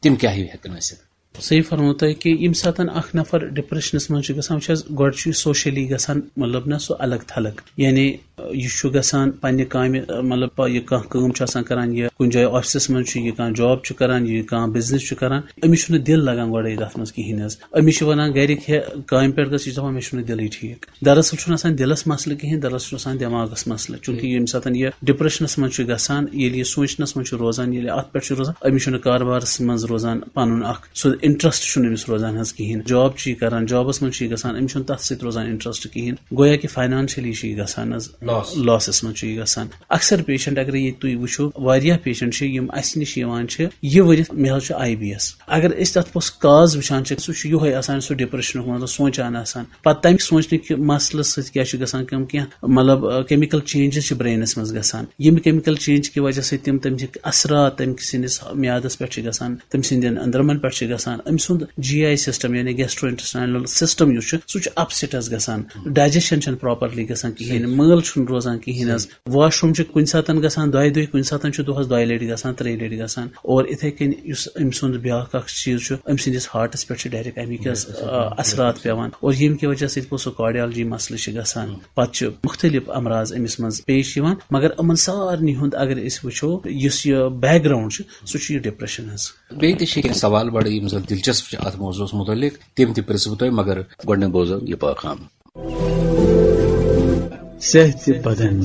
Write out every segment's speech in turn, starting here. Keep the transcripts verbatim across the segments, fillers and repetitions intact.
تِم کیٛاہ ہیٚکن ٲسِتھ؟ صحیح فرموو تۄہہِ کہِ ییٚمہِ ساتَن اکھ نفر ڈپریشنس منٛز چھُ گژھان، وٕچھ حظ، گۄڈٕ چھُ یہِ سوشلی گژھان، مطلب نہ سُہ الگ تھلگ، یعنی، یہِ چھُ گژھان پننہِ کامہِ، مطلب، یہِ کانٛہہ کٲم چھُ آسان کران، یہِ کُنہِ جایہِ آفسس منٛز چھُ، یہِ کانٛہہ جاب چھُ کران، یہِ کانٛہہ بزنس چھُ کران، أمِس چھُنہٕ دِل لگان گۄڈے تتھ منٛز کِہینۍ حظ۔ أمِس چھِ ونان گرِکۍ، ہے، کامہِ پٮ۪ٹھ گژھ، یہِ چھُ دپان مےٚ چھُنہٕ دِلٕے ٹھیٖک۔ دراصل چھُنہٕ آسان دِلس مسلہٕ کِہینۍ، دراصل چھُ آسان دٮ۪ماغس مسلہٕ، چونکہ ییٚمہِ ساتن یہِ ڈپریشنس منٛز چھُ گژھان، ییٚلہِ یہِ سونچنس منٛز چھُ روزان، ییٚلہِ اتھ پٮ۪ٹھ چھُ روزان، أمِس چھُنہٕ کاربارس منٛز روزان پنُن اکھ سُہ انٹرسٹ چھُنہٕ أمِس روزان حظ کِہینۍ۔ جاب چھُ یہِ کران، جابس منٛز چھُ یہِ گژھان، أمِس چھُنہٕ تتھ سۭتۍ روزان انٹرسٹ کِہینۍ۔ گویا کہِ فاینانشلی چھُ یہِ گژھان حظ، Loss۔ لاسس منٛز چھُ یہِ گژھان۔ اکثر پیشنٹ اگر ییٚتہِ تُہۍ وٕچھِو، واریاہ پیشنٹ چھِ یِم اسہِ نِش یِوان چھِ، یہِ ؤرِتھ مےٚ حظ چھُ آی بی ایس۔ اگر أسۍ تتھ پوٚس کاز وٕچھان چھِ، سُہ چھُ یِہوے آسان، سُہ ڈپریشنُک مطلب سونچان آسان۔ پتہٕ تمہِ سونچنہٕ کہِ مسلہٕ سۭتۍ کیٛاہ چھُ گژھان کٲم، کینٛہہ مطلب، آ، کیمیکل چینجز چھِ برینس منٛز گژھان، ییٚمہِ کیمیکل چینج کہِ وجہ سۭتۍ تِم، تِم چھِ اثرات تٔمۍ سٕنٛدِس میادس پٮ۪ٹھ چھِ گژھان، تٔمۍ سٕنٛدٮ۪ن أنٛدرمن پٮ۪ٹھ چھِ گژھان، أمۍ سُنٛد جی آی سسٹم یعنی گیسٹرو انٹسٹائنل سسٹم یُس چھُ، سُہ چھُ اپسیٹ حظ گژھان، ڈائجیشن چھنہٕ پراپرلی گژھان کِہینۍ، مٲل چھُنہٕ روزان کِہینۍ حظ، واش روم چھُ کُنہِ ساتن گژھان دۄیہِ دۄہہِ، کُنہِ ساتن چھُ دۄہس دۄیہِ لٹہِ گژھان، ترٛیٚیہِ لٹہِ گژھان۔ اور اِتھے کٔنۍ یُس أمۍ سُنٛد بیٛاکھ اکھ چیٖز چھُ، أمۍ سٕنٛدِس ہارٹس پٮ۪ٹھ چھِ ڈائریکٹ اَمِکۍ حظ، آ، اثرات پٮ۪وان۔ اور ییٚمہِ کہِ وجہ سۭتۍ پوٚتُس سُہ کارڈیالجی مسلہٕ چھِ گژھان۔ پتہٕ چھِ مختلف امراض أمِس منٛز پیش یِوان، مگر یِمن سارنٕے ہُنٛد اگر أسۍ وٕچھو، یُس یہِ بیک گراؤنڈ چھُ، سُہ چھُ یہِ ڈپریشن حظ۔ بیٚیہِ تہِ چھِ کینٛہہ سوال بڑٕ یِم زن دلچسپ چھِ اتھ موضوعس متعلق، تِم تہِ پرژھٕ بہٕ تۄہہِ، مگر گۄڈٕنیتھ بوزو یہِ پیغام۔ صحت بدن۔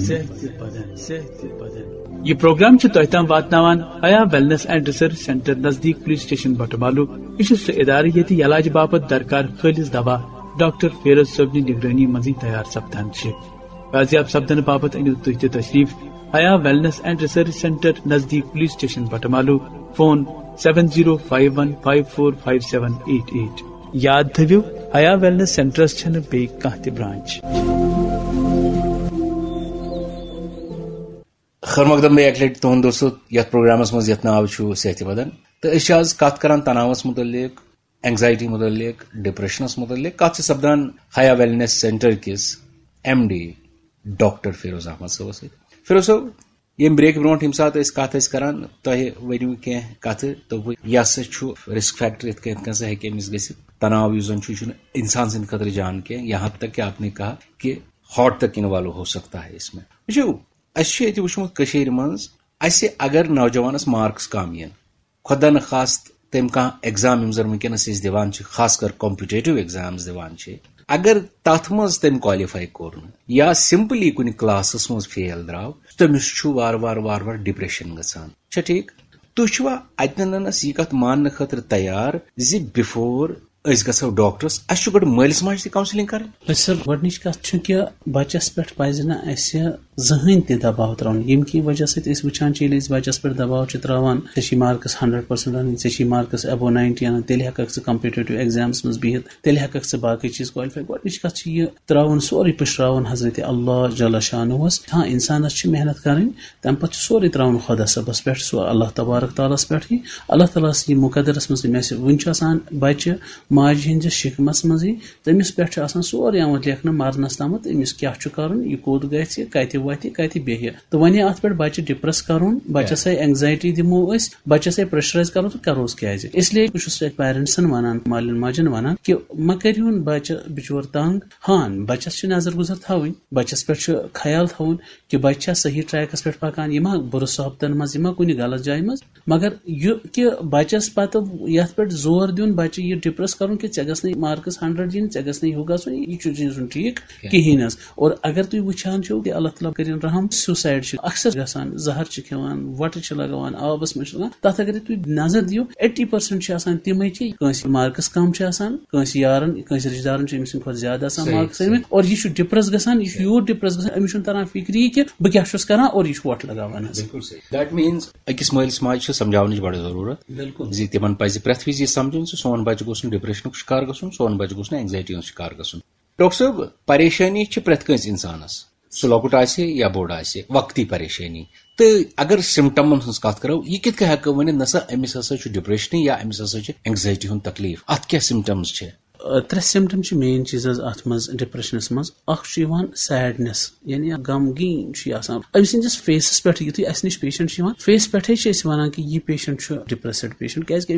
یہ پروگرام چھُ تۄہہِ تام واتناوان حیا ویلنس اینڈ ریسرچ سینٹر نزدیک پولیس سٹیشن بٹمالو۔ یہِ چھُ سُہ ادارٕ ییٚتہِ علاج باپتھ درکار خٲلص دوا ڈاکٹر فیروز صٲبنہِ نگرٲنی منٛزٕے تیار سپدان چھِ۔ بازیاب سپدنہٕ باپتھ أنِو تُہۍ تہِ تشریف حیا ویلنس اینڈ ریسرچ سینٹر نزدیک police station Batamaloo. Phone seven zero five one five four five seven eight eight۔ یاد تھٲوِو، حیا ویلنس سینٹرس چھنہٕ بیٚیہِ کانٛہہ تہِ برانچ۔ خیر مقدم، بیٚیہِ اکہِ لٹہِ تُہُنٛد دوستو یتھ پروگرامس منٛز یتھ ناو چھُ صحت بدن، تہٕ أسۍ چھِ آز کتھ کران تناوس متعلق، اینگزائٹی متعلق، ڈپریشنس متعلق۔ کتھ چھِ سپدان حیا ویلنس سینٹر کِس M D doctor Feroz Ahmad صٲبس سۭتۍ۔ فیروز صٲب، ییٚمہِ بریکہِ برونٛٹھ ییٚمہِ ساتہٕ أسۍ کتھ ٲسۍ کران، تۄہہِ ؤنِو کینٛہہ کتھٕ، دوٚپوٕ، یہِ ہسا چھُ رسک فیکٹر، یِتھ کٔنۍ، یِتھ کٔنۍ ہسا ہیٚکہِ أمِس گٔژھِتھ۔ تناو یُس زن چھُ، یہِ چھُنہٕ انسان سٕنٛدِ خٲطرٕ جان کینٛہہ، یہاں تک کہ آپ نے کہا کہ ہارٹ تک انوالو ہو سکتا ہے اس میں۔ وٕچھِو، اَسہِ چھُ ییٚتہِ وٕچھمُت کٔشیٖرِ منٛز، اَسہِ اگر نوجوانس مارکس کم یِن، خۄدا نخواست تٔمۍ کانٛہہ ایگزام یِم زن وٕنکیٚنس أسۍ دِوان چھِ، خاص کر کمپیٹیٹو ایگزامز دِوان چھِ، اگر تتھ منٛز تٔمۍ کوالیفائی کوٚر نہٕ یا سمپلی کُنہِ کلاسس منٛز فیل درٛاو، تٔمِس چھُ وارٕ وارٕ وارٕ وارٕ ڈپریشن گژھان۔ چھا ٹھیٖک؟ تُہۍ چھِوا اتنس یہِ کتھ ماننہٕ خٲطرٕ تیار زِ بفور أسۍ گژھو ڈاکٹرس، اسہِ چھُ گۄڈٕ مٲلِس ماجہِ تہِ کاونسلنگ کرٕنۍ؟ أسۍ سر، گۄڈٕنِچ کتھ چھِ کہِ بچس پٮ۪ٹھ پزِ نہٕ اسہِ زٕہٕنۍ تہِ دباو ترٛاوُن، ییٚمہِ کہِ وجہ سۭتۍ أسۍ وٕچھان چھِ، ییٚلہِ أسۍ بچس پٮ۪ٹھ دباو چھِ ترٛاوان، ژےٚ چھی مارکس ہنڈرڈ پرسنٹ انٕنۍ، ژےٚ چھی مارکس ابو ناینٹی انٕنۍ، تیٚلہِ ہٮ۪ککھ ژٕ کمپیٹیٹو ایگزامس منٛز بِہِتھ، تیٚلہِ ہٮ۪ککھ ژٕ باقٕے چیٖز کالفائی۔ گۄڈٕنِچ کتھ چھِ یہِ ترٛاوُن سورُے پُشراوُن حضرت اللہ جل شانہس۔ ہاں، انسانس چھِ محنت کرٕنۍ، تمہِ پتہٕ چھُ سورُے ترٛاوُن خۄدا صٲبس پٮ۪ٹھ، سُہ اللہ تبارک تعالیٰ ہس پٮ۪ٹھٕے۔ اللہ تعالیٰ ہس یہِ مقدرس منٛز، مےٚ سۭتۍ وُنہِ چھُ آسان بچہِ ماجہِ ہٕنٛدِس شِکمس منٛزٕے، تٔمِس پٮ۪ٹھ چھُ آسان سورُے آمُت لیکھنہٕ مرنس تامتھ، أمِس کیٛاہ چھُ کرُن، یہِ کوٚت گژھِ، کتہِ وتھِ، کتہِ بیٚہہِ۔ تہٕ وۄنۍ اتھ پٮ۪ٹھ بچہِ ڈپریس کرُن، بچس ہے اینگزائٹی دِمو أسۍ، بچس ہے پریشرائز کرو تہٕ کروس کیازِ؟ اس لیے بہٕ چھُس پیرنٹسن ونان، مالٮ۪ن ماجٮ۪ن ونان کہِ مہ کٔرِہُن بچہِ بچور تنگ۔ ہاں، بچس چھِ نظر گُزر تھاوٕنۍ، بچس پٮ۪ٹھ چھُ خیال تھاوُن کہِ بچہِ چھا صحیح ٹریکس پٮ۪ٹھ پکان، یہِ ما بُرٕ صحبتن منٛز، یہِ ما کُنہِ غلط جایہِ منٛز۔ مگر یہِ کہِ بچس پتہٕ یتھ پٮ۪ٹھ زور دیُن، بچہِ یہِ ڈپریس کرُن کہِ ژےٚ گژھنٕے مارکس ہنڈرڈ یِنۍ، ژےٚ گژھنٕے ہُہ گژھُن، یہِ چھُ، یہِ چھُنہٕ ٹھیٖک کِہینۍ۔ کِہینۍ حظ۔ اور اگر تُہۍ وٕچھان چھِو کہِ اللہ تعالیٰ کٔرِن رحم، سیوسائڈ چھِ اکثر گژھان، زہر چھِ کھٮ۪وان، وۄٹہٕ چھِ لگاوان، آبس منٛز چھِ لگان، تتھ اگر تُہۍ نظر دِیِو، ایٹی پرسنٹ چھِ آسان تِمے کہِ کٲنٛسہِ مارکس کم چھِ آسان، کٲنٛسہِ یارن، کٲنٛسہِ رشتہٕ دارن چھِ أمۍ سٕنٛدِ کھۄتہٕ زیادٕ آسان صحیح، مارکس صحیح۔ أنمٕتۍ، اور یہِ چھُ ڈپریس گژھان، یہِ چھُ یوٗت ڈپریس گژھان، أمِس چھُنہٕ تران فکری کہِ بہٕ کیٛاہ چھُس کران، اور یہِ چھُ وۄٹھ لگاوان حظ۔ بالکل صحیح۔ That means أکِس مٲلِس ماجہِ چھِ سمجھاونٕچ بڑٕ ضروٗرت، بالکل۔ زِ تِمن پزِ پرٛٮ۪تھ وِزِ یہِ سمجھُن زِ سون بچہِ گوٚژھ نہٕ ڈپریشنُک شکار گژھُن، سون بچہِ گوٚژھ نہٕ اینگزائٹی ہُنٛد شکار گژھُن۔ ڈاکٹر صٲب، پریشٲنی چھِ پرٛٮ۪تھ کٲنٛسہِ انسانس، سُہ لۄکُٹ آسہِ یا بوٚڑ آسہِ، وقتی پریشٲنی۔ تہٕ اگر سمٹمن ہٕنٛز کتھ کرو، یہِ کِتھ کٔنۍ ہٮ۪کو ؤنِتھ، نسا أمِس ہسا چھُ ڈپریشنٕے یا أمِس ہسا چھُ اینگزائٹی ہُنٛد تکلیف؟ اتھ کیٛاہ سمٹمز چھِ؟ آ، ترٛےٚ سمٹم چھِ مین چیٖز حظ اتھ منٛز، ڈپریشنس منٛز۔ اکھ چھُ یِوان سیڈنس، یعنی اکھ غمگیٖن چھُ یہِ آسان۔ أمۍ سٕنٛدِس فیسس پٮ۪ٹھ یُتھُے اسہِ نِش پیشنٹ چھُ یِوان، فیس پٮ۪ٹھے چھِ أسۍ ونان کہِ یہِ پیشنٹ چھُ ڈپریسڈ پیشنٹ، کیازِ کہِ